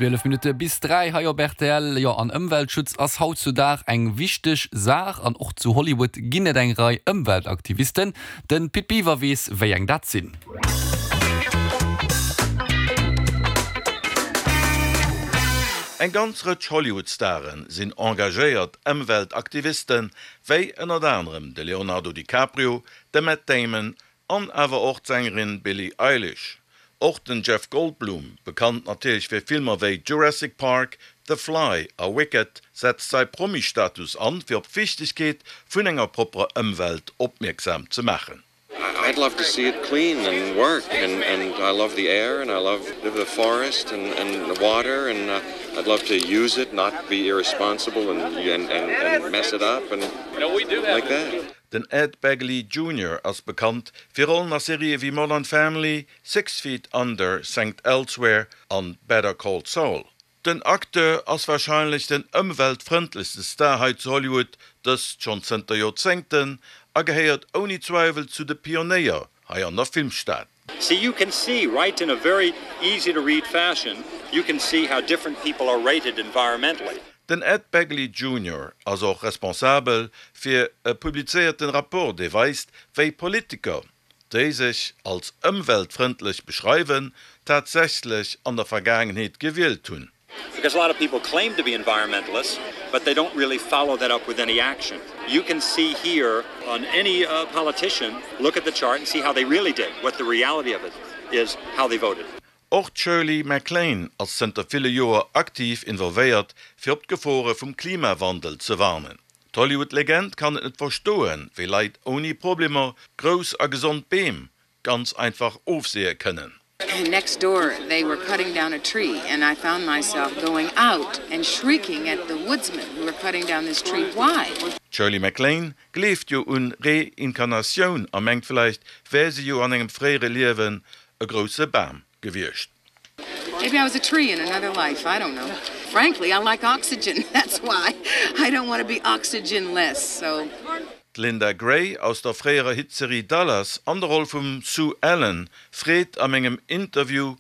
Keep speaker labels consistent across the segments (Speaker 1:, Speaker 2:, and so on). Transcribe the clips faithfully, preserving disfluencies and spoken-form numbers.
Speaker 1: Zwielef Minutte bis dräi hei op rtl. Jo, an Ëmweltschutz ass hautzudag eng wichteg Saach an och zu Hollywood ginn et eng Rei Ëmweltaktivisten. Den Pit Biwer weess, wéi eng dat sinn.
Speaker 2: Eng ganz Rëtsch Hollywood-Stare sinn engagéiert Ëmweltaktivisten, wéi ënnert anerem de Leonardo DiCaprio, de Matt Damon an awer och d'Sängerin Billie Eilish. Och den Jeff Goldblum, bekannt natierlech fir Filmer wéi Jurassic Park, The Fly a Wicked, setzt säi Promi-Status an, fir op d'Wichtegkeet vun enger propperer Ëmwelt opmierksam ze maachen.
Speaker 3: I'd love to see it clean and work and, and I love the air and I love the forest and, and the water and uh, I'd love to use it, not be irresponsible and, and, and, and mess it up and like that.
Speaker 2: Den Ed Begley Junior ass bekannt fir Rollen a Serië wéi Modern Family, Six Feet Under, Saint Elsewhere an Better Call Saul. Den Acteur ass warscheinlech den ëmweltfrëndlechste Star hei zu Hollywood, dëst schonn zënter Joerzéngten, a gehéiert ouni Zweiwel zu de Pionéier hei an der Filmstad.
Speaker 4: See, you can see right in a very easy to read fashion, you can see how different people are rated environmentally.
Speaker 2: Den Ed Begley Junior ass och responsabel fir e publizéierten Rapport, dee weist, wéi Politiker, déi sech als ëmweltfrëndlech beschreiwen, tatsächlech an der Vergaangenheet gewielt hunn.
Speaker 4: Because a lot of people claim to be environmentalists, but they don't really follow that up with any action. You can see here on any uh, politician, look at the chart and see how they really did, what the reality of it is, how they voted.
Speaker 2: Och d'Shirley MacLaine ass zënter ville Joer aktiv involvéiert, fir op d'Gefore vum Klimawandel ze warnen. D'Hollywood-Legend kann et net verstoen, wéi Leit ouni Problemer grouss a gesond Beem ganz einfach ofseeë kënnen.
Speaker 5: Next door, they were cutting down a tree, and I found myself going out and shrieking at the woodsmen who were cutting down this tree. Why?
Speaker 2: D'Shirley MacLaine gleeft jo un Reinkarnatioun a mengt, vläicht wär si jo an engem fréiere Liewen e grousse Bam gewiescht.
Speaker 5: Maybe I was a tree in another life. I don't know. Frankly, I like oxygen. That's why I don't want to be oxygenless. So.
Speaker 2: D'Linda Gray aus der fréierer Hitserie Dallas an der Roll vum Sue Ellen freet a mengem Interview,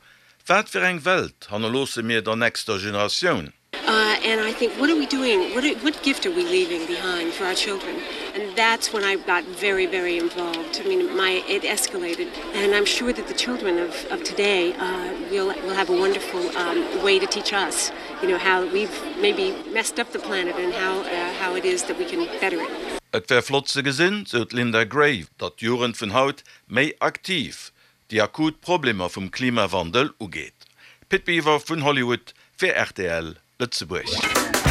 Speaker 2: Wat fir eng Welt hannerloosse mir der nächster Generatioun?
Speaker 6: Uh, and I think, what are we doing? What, are, what gift are we leaving behind for our children? And that's when I got very, very involved. I mean, my, it escalated. And I'm sure that the children of, of today uh, will, will have a wonderful um, way to teach us, you know, how we've maybe messed up the planet and how, uh, how it is that we can better it.
Speaker 2: Et wär flott ze gesinn, sou d'Linda Gray, datt d'Jugend vun haut méi aktiv déi akut Problemer vum Klimawandel ugeet. Pit Biwer vun Hollywood fir rtl Lëtzebuerg.